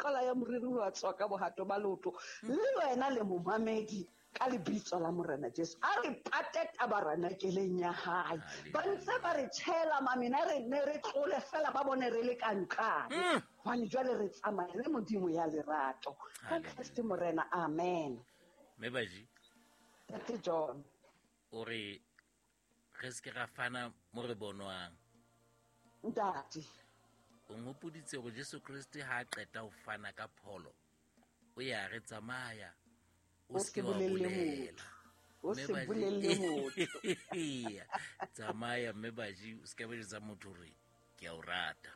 Qala ya moriri wa tswa ka bohato ba leoto. Le wena le momamedi ka lebitso la Morena Jesu. A re pate tabaranakeleng ya hae. Ba ntse ba re tjhela mamina re ne re tlole fela ba bone re le ka nqane. Hobane jwale re tsamaya le Modimo ya lerato. Ka Kreste Morena, amen. Mme Baji. Ntate John. O re re se ke ra fana mo re bonwang. Ntate. O nghopoditse gore Jesu Kriste ha a qeta ho fana ka pholo, o ya re tsamaya o se ke wa bolela. O se bolelle motho. Tsamaya mme Baji, o se ke ba jwetsa motho hore ke a o rata.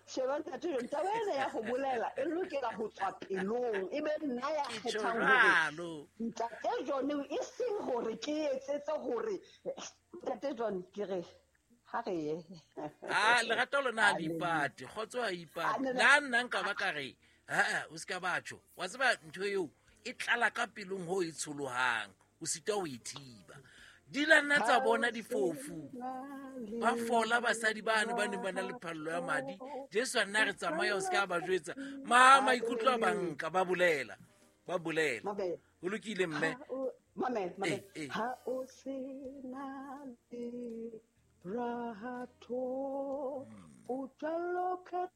Sheba ntate John, taba ena ya ho bolela e lokela ho tswa pelong, e be nna ya kgethang hore ntate John e seng hore ke etsetse hore ntate John ke re ha re ye. Ah, lerato lona ha le ipate, kgotso ha ipate. La nna nka ba ka re, ha o se ka batho. Wa tseba ntho eo e tlala ka pelong ho e tsholohang, o sitwa ho e thiba. Di la nna tsa bona difofu ba fola basadi bane ba neng ba na le phallo ya madi. Jesu a nna re tsamaya o se ka ba jwetsa ma maikutlo a banka ba bolela, ba bolela. Ho lokile mme. Mamela, ha o se na le rato, o jwalo ka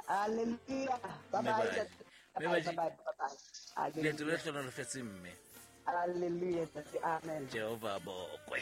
Hallelujah. Bye bye. Bye bye. Leeto le hlohonolofetse mme. Hallelujah. Amen. Jehova bokwe.